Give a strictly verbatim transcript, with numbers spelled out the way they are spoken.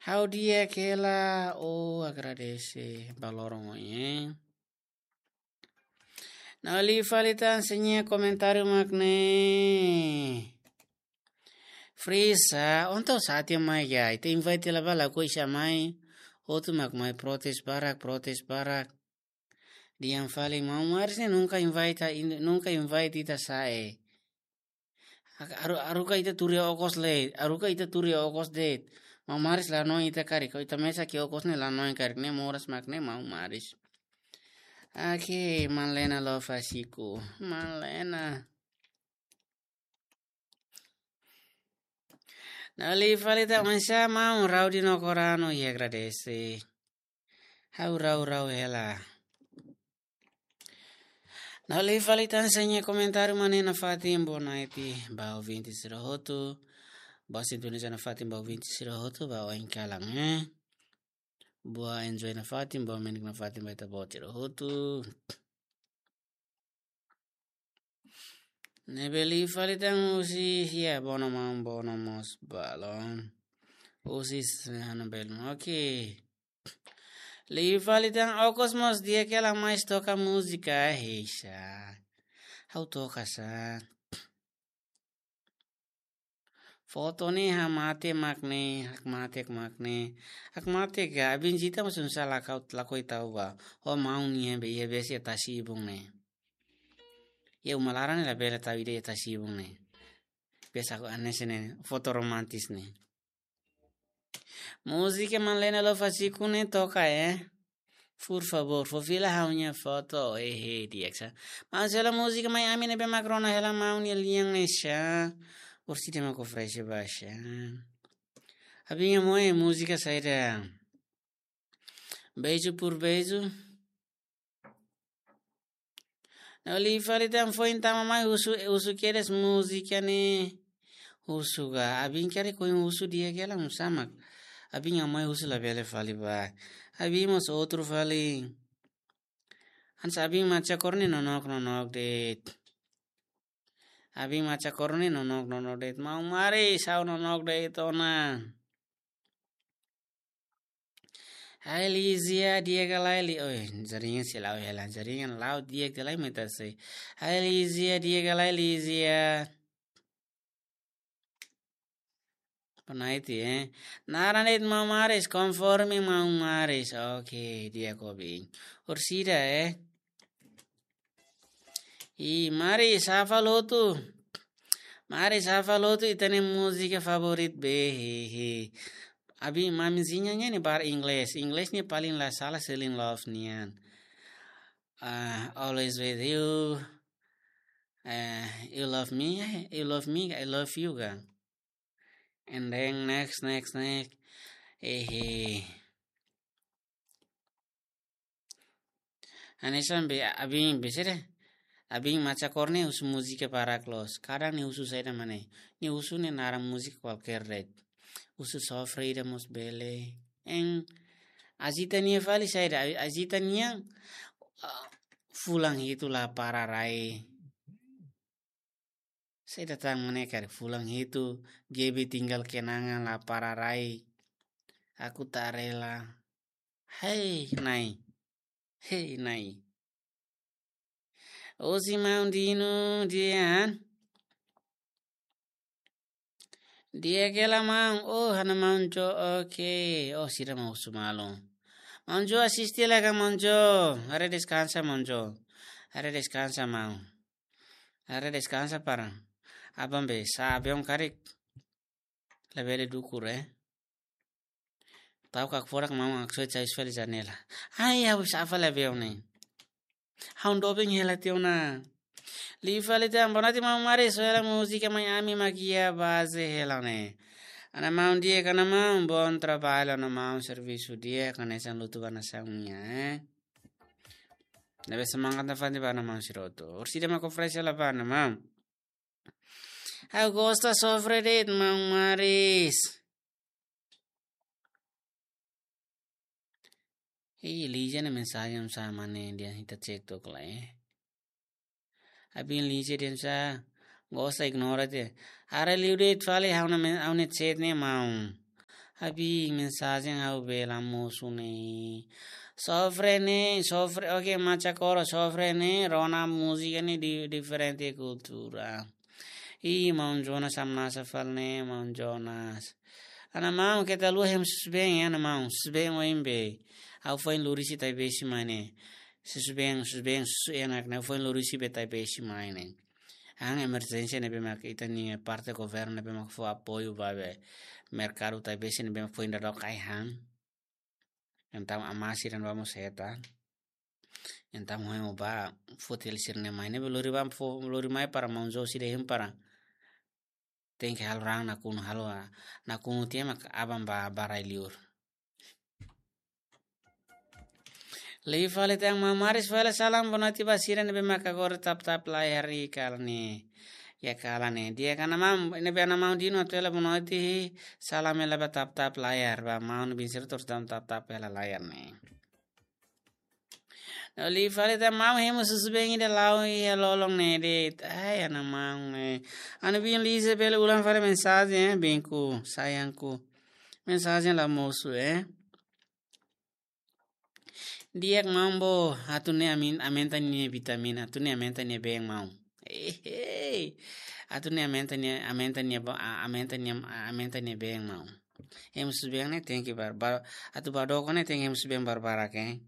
Ha'u di'ak hela, oh, agradese ba loron ohin. No liu fali tan sira-nia komentáriu mak ne'e. Frisa, entaun sá tiha mai ya, ita invite hela ba lakohi sira mai, hotu mak mai protes barak, protes barak. Dehan fali maun Maris ne'e nunka invite, in-, nunka invite ita sa'e. Haruka, haruka ita tuur iha okos lai, haruka ita tuur iha okos de'it. Maun Maris la hanoin ita karik, ita mesak iha okos ne'e la hanoin karik, ne'e moras mak ne'e maun Maris. Oke, Malena Lofasiku. Malena. No liu fali tan oinsá maun Raudi no Korano, i agradese. Ha'u rau-rau hela. No liu fali tan sira-nia komentáriu mak ne'e nafatin, boa noite ba ouvinte sira hotu. Boa sintoniza nafatin ba ouvinte sira hotu, ba oin kalan, eh. Boa enjoy nafatin, boa menik nafatin ba ita-boot sira hotu. Ne'ebé liu fali tan husi, ya, Bono maun, Bono mós balun. Husi Sehano Belum. Oke. Liu fali tan okos mós di'ak hela, mais toka múzika, heisa. Ha'u toka sá. Foto ne'e hamate mak ne'e, hakmatek mak ne'e. Hakmatek ka, abin jita mós nusá lakohi, lakohi tau ba. Ho maun nian be, iha besi iha tasi-ibun ne'e. Iha uma laran ne'e labele tau ida iha tasi-ibun ne'e. Biasa ko aneh sene foto romantis ne'e. Múzika Malena Lofasiku ne'e toka, eh. Por favor, fó fila ha'u-nia foto, eh, eh, di'ak sá. Maun, sela múzika mai ami ne'ebé mak rona hela maun nia lian ne'e sá. Orsida mak oferese ba sá. Abin moe múzika saida? Beijo por beijo. No liu fali tan foin tama mai husu, husu kedas múzika ne'e. Husu ka, abin karik ohin husu di'ak hela, nusá mak. Abin mai husu labele fali ba. Abin mós outro fali. Hanesan abin Macha Kor ne'e nonook, nonook de'it. Abin Macha Kor ne'e nonook, nonook de'it. Maun Maris, ha'u nonook de'it ona. Hai Lizia, di'ak ka lae Li-, oi, jaringan sei la'o hela, jaringan la'o di'ak ka lae mai ita sei. Hai Lizia, di'ak ka lae Lizia. Pernah itu, eh. Naran de'it maun Maris, konforme maun Maris. Oke, di'ak ka bing. Orsida, eh. I Maris, hafal hotu. Maris, hafal hotu ita-nia múzika favorit be, he, he. Abin Mamizinha nian ne'e bahasa Inggris. Inggris ne'e paling la sala Celine Love nian. Ah, always with you. Eh, you love me, eh, you love me, I love you ka. And then next, next, next. Eh, eh. Hanesan be abin be sede. Abin Macha Kor ne'e husu múzika barak loos. Kadang nia husu saida mak ne'e. Nia husu ne'e naran múzika kualkér de'it. Husu sofre ida mós bele. Eng, ajita nia fali saida, ajita nia, ah, fulan hitu la para rai. Saida tan mak ne'e karik fulan hitu, G B tinggal kenangan la para rai. Aku tak rela. Hei, nai. Hei, nai. Osi maun Dino, di'ak. Di'ak hela maun, oh, ha'u-nia maun Jo, oke. Oh, sira mak husu malu. Maun Jo asiste hela ka maun Jo. Haree deskansa maun Jo. Haree deskansa maun. Haree deskansa para. Aban be sa'e aviaun karik. Labele dukur, eh. Tau kak forak maun Aksoit sai fali janela. Ai, ha'u sa'e fali aviaun ne'e. Ha'u dobeng hela tiha ona. Liu fali tan, boa noite maun Maris, hela múzika mai ami mak iha baze hela ne'e. Ha'u-nia maun di'ak ka, ha'u-nia maun, bom trabalho, ha'u-nia maun, servisu di'ak, hanesan lutu ba nasaun nian, eh. Ne'ebé semangat nafatin ba ha'u-nia maun sira hotu. Orsida mak oferese hela ba ha'u-nia maun. Ha'u gosta sofre de'it maun Maris. Ih, Lizia nia mensajen sá mak ne'e, dehan ita chat tok lai, eh. Abin Lizia dehan sá, gosta ignora tiha. Haree liu de'it fali ha'u-nia men-, ha'u-nia chat ne'e maun. Abi mensajen ha'u bele mosu ne'e. Sofre ne'e, sofre, oke, macha koro sofre ne'e, rona múzika ne'e di, diferente kultura. Ih, maun Jonas hamnasa fali ne'e, maun Jonas. Ha'u-nia maun, keta haluha hemu susubeen, ha'u-nia maun, susubeen oin be. Ha'u foin lori husi Taibesi mai ne'e. Susubeen, susubeen, susubeen, ha'u foin lori husi be Taibesi mai ne'e. Ha'u emerjénsia ne'ebé mak ita-nia parte governu ne'ebé mak fó apoiu ba be merkadu Taibesi ne'ebé mak foin dadauk ai han. Entaun amá sira-ne'e ba mós hetan. Entaun hemu ba foti hela sira-ne'e mai ne'ebé lori ba fó, lori mai para maun Josi dehan para tenke halo raan nakonu, halo, ah, nakonu tiha mak aban ba, ba rai-liur. Liu fali tan maun Maris fali salam boa noite ba sira ne'ebé mak agora tap-tap layar iha kalan ne'e. Iha kalan ne'e. Di'ak ha'u-nia maun, ne'ebé ha'u-nia maun Dino atu hela boa noite, salam hela ba tap-tap layar, ba maun bin sira atu tap-tap hela layar ne'e. No liu fali tan maun hemu susubeen ida la'o iha lolon ne'e de'it. Ai, ha'u-nia maun ne'e. Ha'u-nia bin Liza bele ulang fali mensajen, eh, binku, sayangku. Mensajen la mosu, eh. Di'ak maun bo, atu ne'e amin, aumenta nia vitamina, atu ne'e aumenta nia been maun. Hehe. Atu ne'e aumenta nia, aumenta nia bo, a-, aumenta nia, a-, aumenta nia been maun. Hemu susubeen ne'e tenke bar, bar, atu ba doko ne'e tenke hemu susubeen barbarak, eh.